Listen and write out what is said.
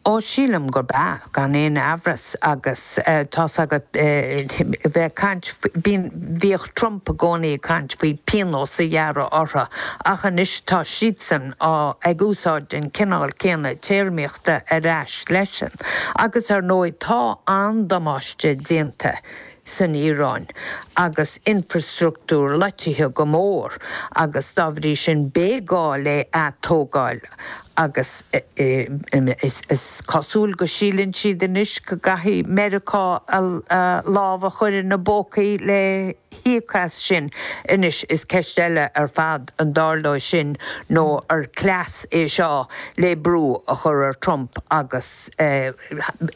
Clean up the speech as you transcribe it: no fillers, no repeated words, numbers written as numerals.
Ó, sílim gurb ea, gan aon amhras, agus tá's agat, bheith ag caint, bíonn, bhíodh Trump i gcónaí ag caint faoi pionós a ghearradh orthu, ach anois tá siadsan á, ag úsáid an cineál céanna téarmaíochta ar ais leisean. Agus ar ndóigh tá an-damáiste déanta san Iaráin agus infrastruchtúr loitithe go mór agus dá bhrí sin beidh gá le atógáil agus is cosúil go síleann siad anois go gcaithfidh Meiriceá a lámh a chur ina bpócaí le híoc as sin. Anois is ceist eile ar fad an dtarlóidh sin nó ar cleas é seo le brú a chur ar Trump agus.